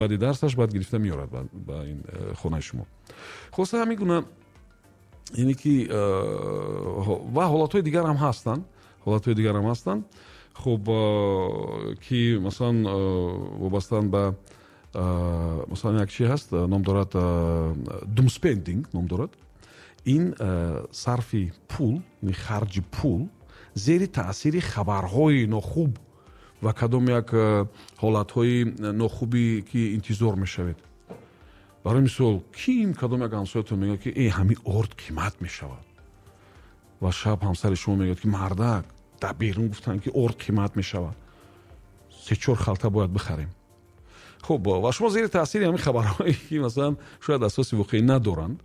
Баъди дарсаш баъд гирифта меорад ба ин хонаи шумо. Хулоса, ҳамин гуна, яъне ки ва ҳолатҳои дигар ҳам ҳастанд, ҳолатҳои дигар ҳам ҳастанд. Хуб, ки масалан вобастаанд ба, масалан, як чи ҳаст, ном дорад, doomspending ном дорад. Ин сарфи пул, харҷи пул зери таъсири хабарҳои нохуб ва кадом як ҳолатҳои нохубе, ки интизор мешавед. Барои мисол, ким кадом як ҳамсоятон мегӯяд, ки э, ҳамин орд қимат мешавад, ва шаб ҳамсари шумо мегӯяд, ки мардак, дар берун гуфтанд, ки орд қимат мешавад, се-чор халта бояд бихарем. Хуб, ва шумо зери таъсири ҳамин хабарҳое, ки масалан шояд асоси воқеӣ надоранд,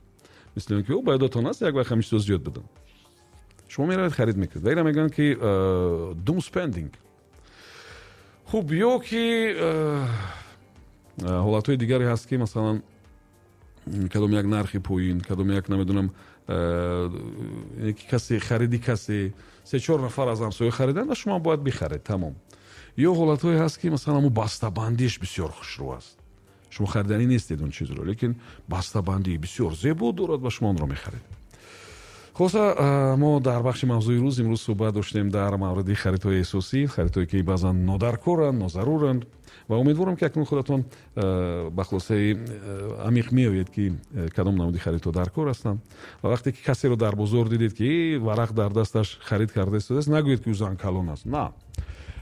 мисли он ки ба ёдатон аст, як вақт ҳамин чизо зиёд буданд, шумо меравед, харид мекунед ва ира мегӯянд, ки doom spending. Хуб, ё ки ҳолатҳои дигаре ҳаст, ки масалан кадом як нархи поин, кадом як, намедонам, касе хариди, касе, се-чор нафар аз ҳамсоя хариданд ва шумо бояд бихаред, тамом. Ё ҳолатҳое ҳаст, ки масалан ҳамун бастабандиш бисёр хушрӯ аст, шумо хариданӣ нестед он чизро, лекин бастабандии бисёр зебо дорад ва шумо онро мехаред. Хулоса, мо дар бахши мавзӯи рӯз имрӯз суҳбат доштем дар мавриди харидҳои эҳсосӣ, харидҳое, ки баъзан нодаркоранд, нозаруранд, ва умедворам, ки акнун худатон ба хулосаи амиқ меоед, ки кадом намуди харидҳо дар кор ҳастанд. Ва вақте ки касеро дар бозор дидед, ки варақ дар дасташ харид карда истодааст, нагӯед, ки ӯ зан калон аст. На,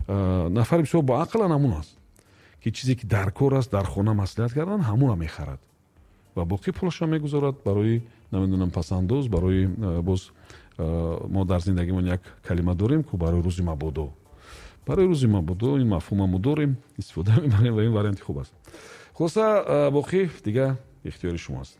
нафари бисёр боақлан ҳамун аст, ки чизе, ки дар кор аст, дар хона маслиҳат кардан, ҳамонро мехарад ва боқӣ пулашро мегузорад барои, намедонам, пасандоз, барои, боз мо дар зиндагимон як калима дорем ку, барои рӯзи мабодо. Барои рӯзи мабодо, ин мафҳума мо дорем, истифода мебарем ва ин варианти хуб аст. Хулоса, боқӣ дига ихтиёри шумо аст.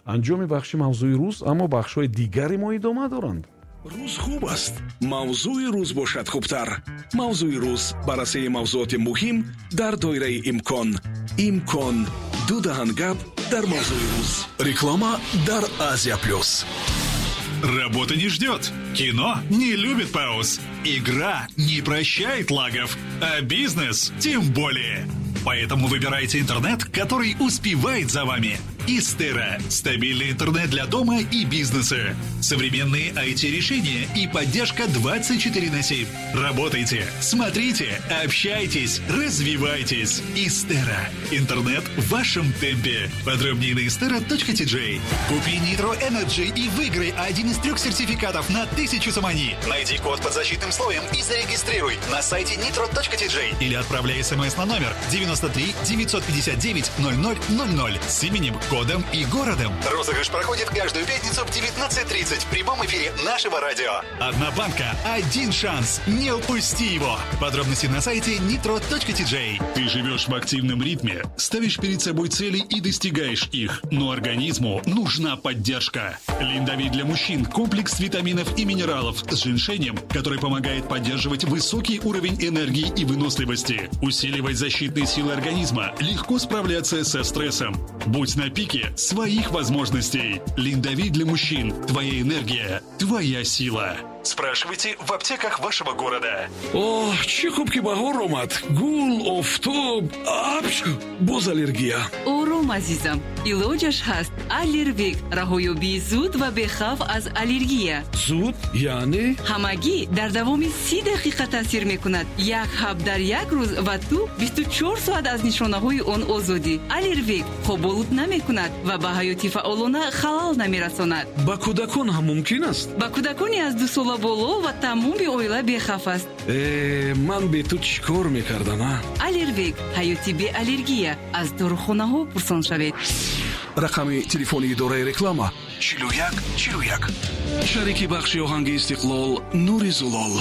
Анҷоми бахши мавзӯи рӯз, аммо бахшҳои дигари мо идома доранд. Рӯз хуб аст, мавзӯи рӯз бошад хубтар. Мавзӯи рӯз: баррасии мавзӯоти муҳим дар доираи имкон. Имкон ду даҳан гап дар мавзӯи рӯз. Реклама дар Азия Плюс. Работа не ждет. Кино не любит пауз. Игра не прощает лагов. А бизнес тем более. Поэтому выбирайте интернет, который успевает за вами. Истера. Стабильный интернет для дома и бизнеса. Современные IT-решения и поддержка 24 на 7. Работайте, смотрите, общайтесь, развивайтесь. Истера. Интернет в вашем темпе. Подробнее на istera.tj. Купи Nitro Energy и выиграй один из трех сертификатов на 1000 сомони. Найди код под защитным слоем и зарегистрируй на сайте nitro.tj или отправляй смс на номер 93 959 0000 с именем, кодом и городом. Розыгрыш проходит каждую пятницу в 19.30 в прямом эфире нашего радио. Одна банка, один шанс. Не упусти его. Подробности на сайте nitro.tj. Ты живешь в активном ритме, ставишь перед собой цели и достигаешь их. Но организму нужна поддержка. Линдовит для мужчин – комплекс витаминов и минералов с женьшенем, который помогает поддерживать высокий уровень энергии и выносливости, усиливать защитные силы организма, легко справляться со стрессом. Будь на пике своих возможностей. Линдовит для мужчин. Твоя энергия, твоя сила. Спрашивайте в аптеках вашего города. Оҳ, чӣ хуб, ки баҳор омад. Гул, офтоб, апч, боз аллергия. Ором, азизам, илоҷаш ҳаст. Аллервек: раҳоёбии зуд ва бехавф аз аллергия. Зуд яъне? Ҳамагӣ дар давоми 30 дақиқа таъсир мекунад. Як ҳаб дар як рӯз ва ту 24 соат аз нишонаҳои он озодӣ. Аллервек хоболуд намекунад ва ба ҳаёти фаъолона халал намерасонад. Ба кӯдакон ҳам мумкин аст? Ба кӯдакони аз 2 сола боло ва тамоми оила бехавф аст. Э, ман бе ту чӣ кор мекардам, а? Аллервек: ҳаёти беаллергия. Аз дорухонаҳо пурсон шавед. Рақами телефони идораи реклама: 41 41. Шарики бахши оҳанги Истиқлол: Нури Зулол.